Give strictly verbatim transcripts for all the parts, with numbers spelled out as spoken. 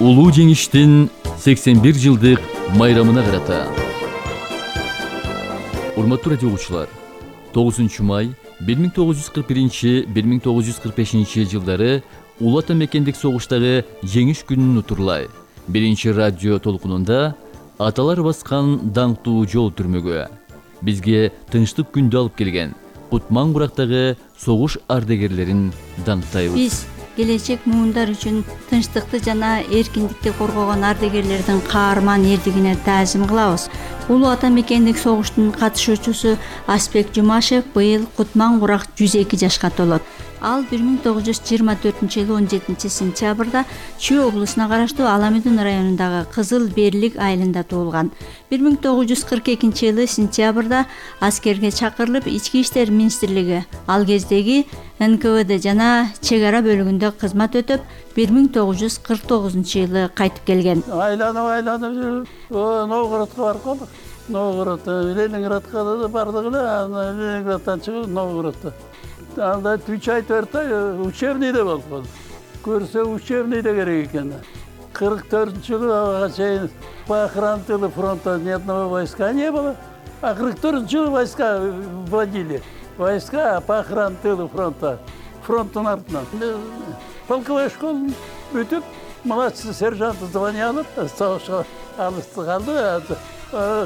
улуу жеңиштин сексен бир жылдык майрамына карата. Урматтуу радио угуучулар, тогузунчу май бир миң тогуз жүз кырк биринчи — бир миң тогуз жүз кырк бешинчи жылдары улуу ата мекендик согуштагы жеңиш күнүн утурлай биринчи радио толкунунда аталар баскан даңктуу жол түрмөгү бизге тынчтык күндү алып келген Кутман Бурактагы согуш ардагерлерин даңктайбыз. Биз келечек муундар үчүн тынчтыкты жана эркиндикти коргогон ардагерлердин каарман эрдигине таазим кылабыз. Улуу ата мекендик согуштун катышуучусу Аспек Жумашев быйыл Кутман Бурак жүз эки жашка толот. Ал бир миң тогуз жүз жыйырма төртүнчү жылы он жетинчи сентябрда Чүй облусуна караштуу Аламүдүн районундагы Кызыл Берлик айылында туулган. бир миң тогуз жүз кырк экинчи жылы сентябрда аскерге чакырылып, Ички иштер министрлиги ал кездеги эн ка вэ дэ жана чек ара бөлүгүндө кызмат өтөп, бир миң тогуз жүз кырк тогузунчу жылы кайтып келген. Айланып айланып жүрүп, Новгородко барып калдык. Новгород, Ленинградка да бардык эле, анан Ленинградтан чыгып Новгородто. Анда үч ай төрт ай учебныйда болуп калдык. Көрсө учебныйда керек экен. кырк төртүнчү жылы ага чейин по охране тыла фронта ни одного войска не было. А кырк төртүнчү жылы войска вводили. Войска по охране тыла фронта. Фронттун артынан. Полковой школу бүтүп, младший сержант звание алып, согушка алысты калды.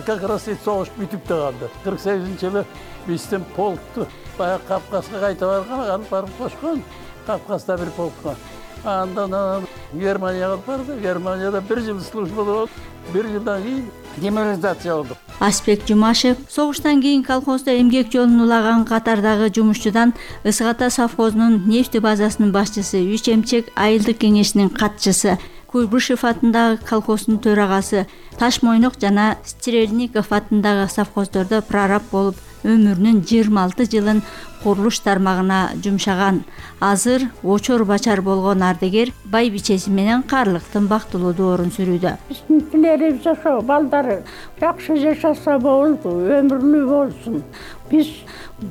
Как раз и согуш бүтүп да калды. кырк сегизинчи жылы биздин полкту баягы Кавказга кайта барган, алып барып кошкон. Кавказда бир полкко. Андан Германияга алып барды. Германияда бир жыл служба болуп, бир жылдан кийин демобилизация болдук. Аспек Жумашев согуштан кийин колхоздо эмгек жолун улаган катардагы жумушчудан Ысык Ата совхозунун нефти базасынын башчысы, Үч эмчек айылдык кеңешинин катчысы, Куйбышев атындагы колхоздун төрагасы, Таш Мойнок жана Стрельников атындагы совхоздордо прораб болуп, өмүрүнүн жыйырма алты жылын курулуш тармагына жумшаган. Азыр очор бачар болгон ардагер байбичеси менен карлыктын бактылуу доорун сүрүүдө. Биздин тилерибиз ошо балдары жакшы жашаса болду, өмүрлүү болсун. Биз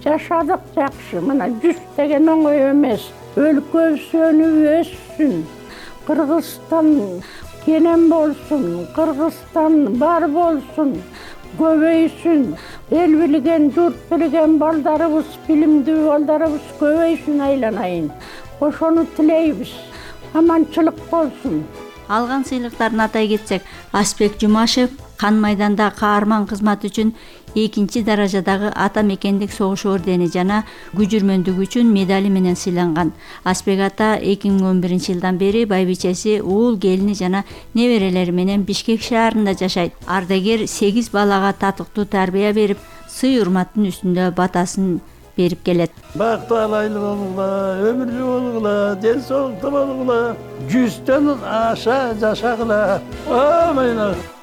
жашадык жакшы, мына жүз деген оңой эмес. Өлкөбүз өнүп өссүн. Кыргызстан кенен болсун, Кыргызстан бар болсун, көбөйсүн. Эл билген, журт билген балдарыбыз, билимдүү балдарыбыз көбөйсүн, айланайын. Ошону тилейбиз. Аманчылык болсун. Алган сыйлыктарын атай кетсек, Аспек Жумашев кан майданда каарман кызмат үчүн экинчи даражадагы ата мекендик согуш ордени жана күжүрмөндүгү үчүн медали менен сыйланган. Аспек ата эки миң он биринчи жылдан бери байбичеси, уул келини жана неберелери менен Бишкек шаарында жашайт. Ардагер сегиз балага татыктуу тарбия берип, сый урматтын үстүндө батасын берип келет. Бактуу алайлы болгула, өмүрлүү болгула, ден соолуктуу болгула, жүздөн аша жашагыла. Амин.